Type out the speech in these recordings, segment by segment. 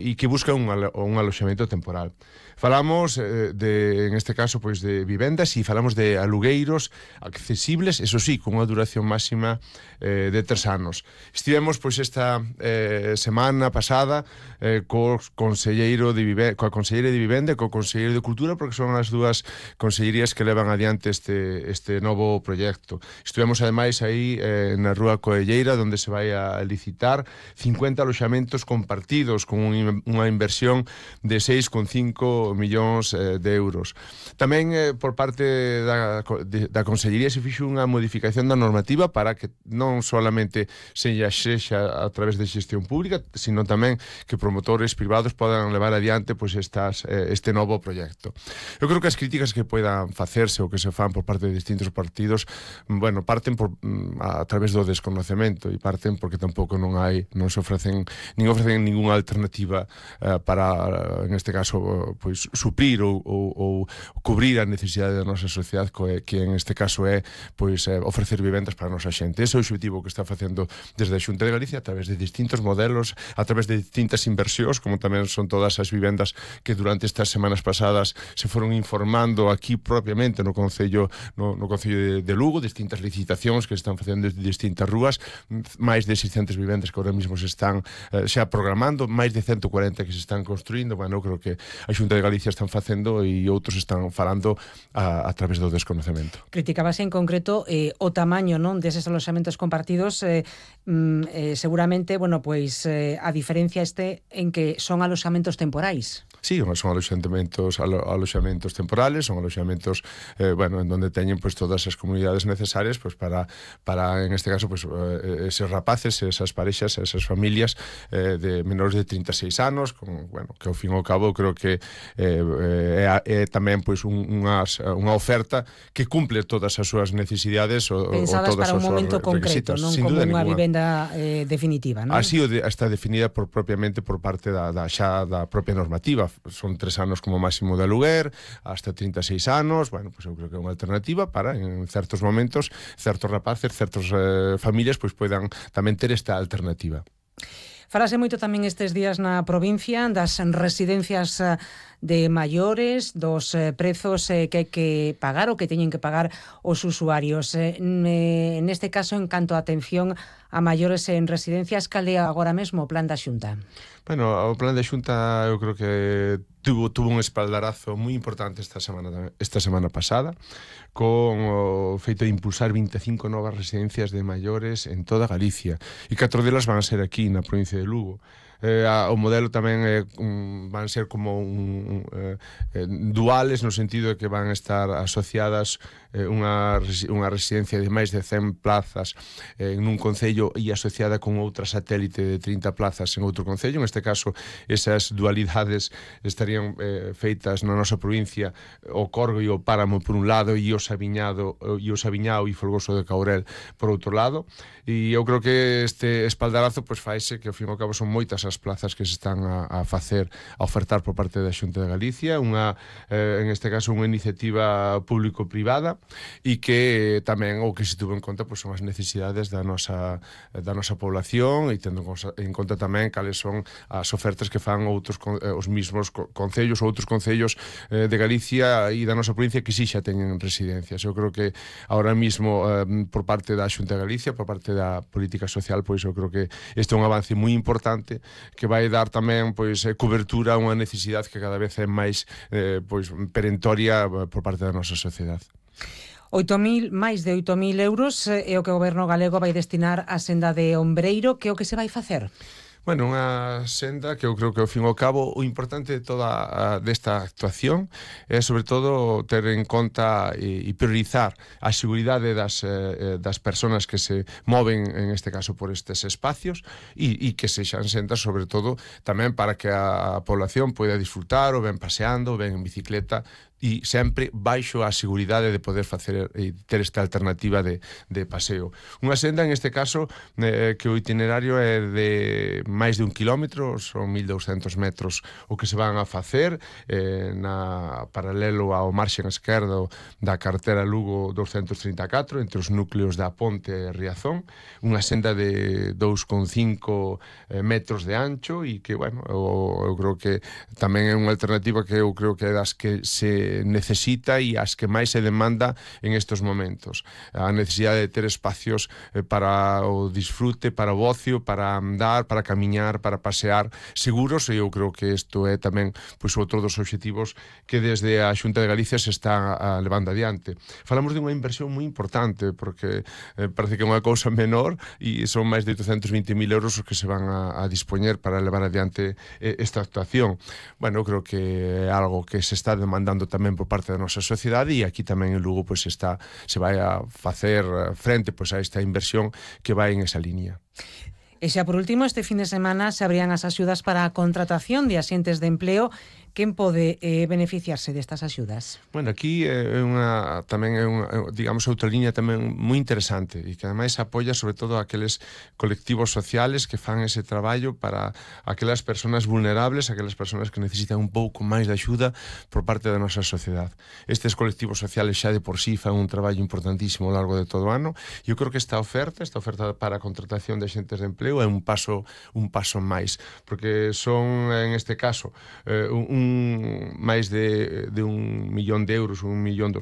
e que busca un aloxamento temporal. Falamos en este caso, pois de vivendas, e falamos de alugueiros accesibles, eso sí, con unha duración máxima de 3 anos. Estivemos pois esta semana pasada coa conselleira de Vivenda e co conselleiro de Cultura, porque son as dúas consellerías que levan adiante este novo proxecto. Estivemos ademais aí na Rúa Coelleira, onde se vai a licitar 50 aloxamentos compartidos con unha inversión de 6,5 millóns de euros. Tamén por parte da Consellería se fixo unha modificación da normativa para que non solamente se xexa a través de xestión pública, sino tamén que promotores privados podan levar adiante pois este novo proxecto. Eu creo que as críticas que poidan facerse ou que se fan por parte de distintos partidos, bueno, parten a través do desconocemento e parten porque tampouco non se ofrecen ningunha alternativa para, en este caso, pois suplir ou cubrir a necesidade da nosa sociedade, que en este caso é pois ofrecer vivendas para a nosa xente. Ese é o objetivo que está facendo desde a Xunta de Galicia a través de distintos modelos, a través de distintas inversións, como tamén son todas as vivendas que durante estas semanas pasadas se foron informando aquí propiamente no Concello de Lugo, distintas licitacións que se están facendo de distintas rúas, máis de 600 vivendas que ahora mismo se están xa programando, máis de 140 que se están construindo. Bueno, eu creo que a Xunta de Galicia están facendo e outros están falando a través do desconocemento. Criticabase en concreto o tamaño, non, deses aloxamentos compartidos, seguramente, bueno, pois a diferencia en que son aloxamentos temporais. Sí, son aloxamentos temporales, son aloxamentos en donde teñen pois todas as comunidades necesarias pois para en este caso pois eses rapaces, esas parexas, esas familias de menores de 36 anos, que ao fin e ao cabo creo que é tamén pois unha oferta que cumple todas as súas necesidades ou pensadas todas para un momento concreto, non como unha vivenda definitiva, non? Así está definida propiamente por parte da propia normativa. Son 3 anos como máximo de aluguer, hasta 36 anos. Bueno, pois eu creo que é unha alternativa para, en certos momentos, certos rapaces, certas familias pois poidan tamén ter esta alternativa. Falase moito tamén estes días na provincia das residencias de maiores, dos prezos que hai que pagar ou que teñen que pagar os usuarios. Neste caso, en canto a atención a maiores en residencias, cal é agora mesmo o plan da Xunta? Bueno, o plan da Xunta eu creo que tuvo un espaldarazo moi importante esta semana pasada, con o feito de impulsar 25 novas residencias de maiores en toda Galicia, e 4 delas van a ser aquí na provincia de Lugo. O modelo tamén van ser como duales, no sentido de que van estar asociadas unha residencia de máis de 100 plazas en un concello e asociada con outra satélite de 30 plazas en outro concello. En este caso, esas dualidades estarían feitas na nosa provincia, o Corgo e o Páramo por un lado e o Sabiñao e Folgoso de Caurel por outro lado. E eu creo que este espaldarazo pois faise que ao fin e ao cabo son moitas as plazas que se están a ofertar por parte da Xunta de Galicia, en este caso unha iniciativa público-privada, e que tamén o que se tuvo en conta pois son as necesidades da nosa población, e tendo en conta tamén cales son as ofertas que fan os mismos concellos ou outros concellos de Galicia e da nosa provincia que sí xa teñen residencias. Eu creo que ahora mismo por parte da Xunta de Galicia, por parte da política social, pois eu creo que este é un avance moi importante que vai dar tamén pois cobertura a unha necesidade que cada vez é máis pois perentoria por parte da nosa sociedade. Máis de 8.000 euros é o que o Goberno galego vai destinar á senda de Ombreiro. Que é o que se vai facer? Bueno, unha senda que eu creo que ao fin e ao cabo o importante de toda desta actuación é sobre todo ter en conta e priorizar a seguridade das persoas que se moven en este caso por estes espacios e que sexan sendas sobre todo tamén para que a población poida disfrutar ou ben paseando, ben en bicicleta e sempre baixo a seguridade de poder facer e ter esta alternativa de paseo. Unha senda, en este caso, que o itinerario é de máis de 1 kilómetro, son 1200 metros o que se van a facer na paralelo ao marxen esquerdo da carretera Lugo 234, entre os núcleos da Ponte e Riazón, unha senda de 2,5 metros de ancho e que, bueno, eu creo que tamén é unha alternativa que eu creo que é das que se necesita e as que máis se demanda en estes momentos. A necesidade de ter espacios para o disfrute, para o ocio, para andar, para camiñar, para pasear seguros, e eu creo que isto é tamén pois outro dos obxectivos que desde a Xunta de Galicia se está levando adiante. Falamos de unha inversión moi importante porque parece que é unha cousa menor e son máis de 820.000 euros os que se van a dispoñer para levar adiante esta actuación. Bueno, eu creo que é algo que se está demandando tamén por parte da nosa sociedade e aquí tamén en Lugo pois se vai a facer frente pois a esta inversión que vai en esa línea. E xa por último, este fin de semana se abrían as axudas para a contratación de axentes de empleo. Quen pode beneficiarse destas axudas? Bueno, aquí é tamén é unha, digamos, outra liña tamén moi interesante e que ademais apoia sobre todo aqueles colectivos sociales que fan ese traballo para aquelas persoas vulnerables, aquelas persoas que necesitan un pouco máis de axuda por parte da nosa sociedade. Estes colectivos sociales xa de por sí fan un traballo importantísimo ao largo de todo o ano e eu creo que esta oferta para a contratación de axentes de empleo é un paso máis, porque son, en este caso, máis de 1 millón de euros, 1,2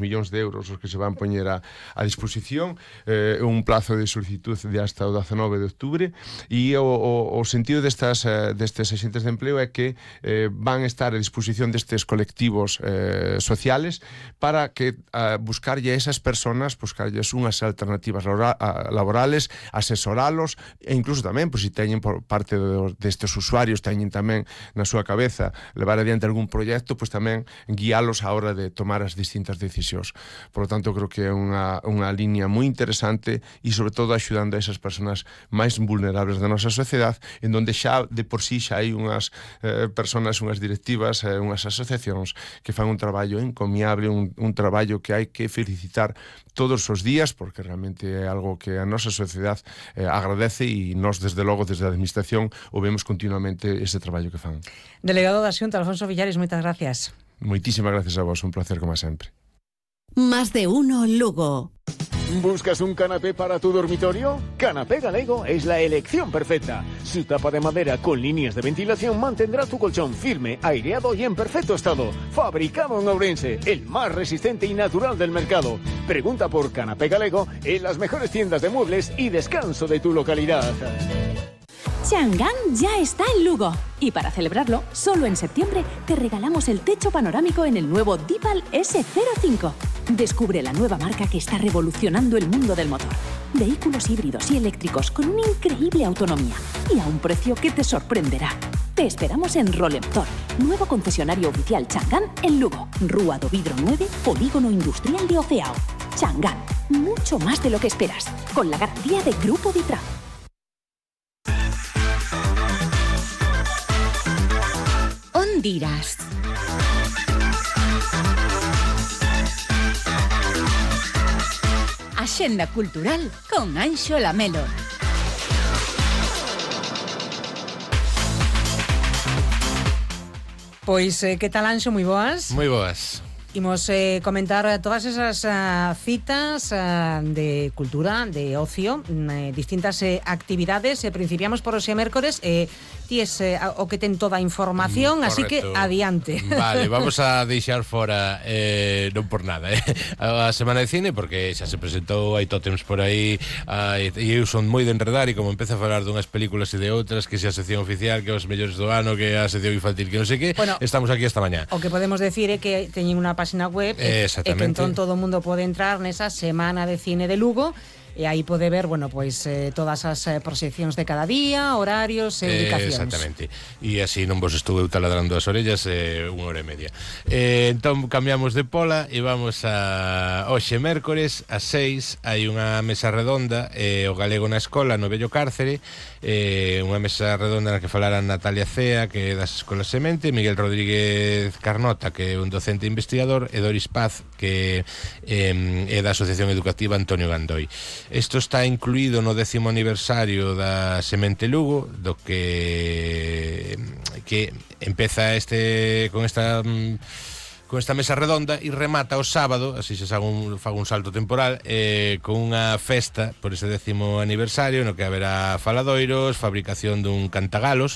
millóns de euros os que se van poñer a disposición, un plazo de solicitud de hasta o 19 de octubre e o sentido destes axentes de empleo é que van estar a disposición destes colectivos sociales para que buscarlle a esas personas, buscarlles unhas alternativas laborales, asesoralos e incluso tamén, pois, se teñen por parte destes usuarios teñen tamén na súa cabeza levar adiante algún proxecto, pois tamén guiálos á hora de tomar as distintas decisións. Por lo tanto, creo que é unha liña moi interesante e, sobre todo, axudando a esas persoas máis vulnerables da nosa sociedade, en donde xa, de por sí, xa hai unhas persoas, unhas directivas, unhas asociacións que fan un traballo encomiable, un traballo que hai que felicitar todos os días, porque realmente é algo que a nosa sociedade agradece e nós, desde logo, desde a Administración, o vemos continuamente ese traballo que fan. Delegado da Xunta, Alfonso Villares, moitas gracias. Moitísimas gracias a vos, un placer como sempre. Más de uno Lugo. ¿Buscas un canapé para tu dormitorio? Canapé Galego es la elección perfecta. Su tapa de madera con líneas de ventilación mantendrá tu colchón firme, aireado y en perfecto estado. Fabricado en Ourense, el más resistente y natural del mercado. Pregunta por Canapé Galego en las mejores tiendas de muebles y descanso de tu localidad. Chang'an ya está en Lugo. Y para celebrarlo, solo en septiembre te regalamos el techo panorámico en el nuevo Dipal S05. Descubre la nueva marca que está revolucionando el mundo del motor. Vehículos híbridos y eléctricos con una increíble autonomía y a un precio que te sorprenderá. Te esperamos en Rolemtor, nuevo concesionario oficial Chang'an en Lugo. Rúa do Vidro 9, Polígono Industrial de Oceao. Chang'an, mucho más de lo que esperas, con la garantía de Grupo Vitra. Ondiras. Axenda cultural con Anxo Lamelo. Pois, que tal, Anxo? Moi boas. Moi boas. Imos comentar todas esas citas de cultura, de ocio, distintas actividades. Principiamos por hoxe mércores. Ti es o que ten toda a información, así que adiante. Vale, vamos a deixar fora non por nada, a Semana de Cine, porque xa se presentou, hai tótems por aí, e eu son moi de enredar, e como empeza a falar dunhas películas e de outras, que xa a sección oficial, que os mellores do ano, que a sección infantil, que non sei que, bueno, estamos aquí esta mañá. O que podemos decir é que teñen unha página web e que entón todo o mundo pode entrar nesa Semana de Cine de Lugo, e aí pode ver, bueno, pois todas as proxeccións de cada día, horarios e ubicacións. Exactamente. E así non vos estuve taladrando as orellas 1 hora e media. Entón cambiamos de pola e vamos a hoxe mércores ás 6 hai unha mesa redonda o galego na escola no vello cárcere, unha mesa redonda na que falaran Natalia Cea, que é das escolas Semente, Miguel Rodríguez Carnota, que é un docente investigador, e Doris Paz, que é da Asociación Educativa Antonio Gandoi. Isto está incluído no 10º aniversario da Semente Lugo, do que empeza con esta mesa redonda e remata o sábado, así se fago un salto temporal, con unha festa por ese 10º aniversario no que haberá faladoiros, fabricación dun cantagalos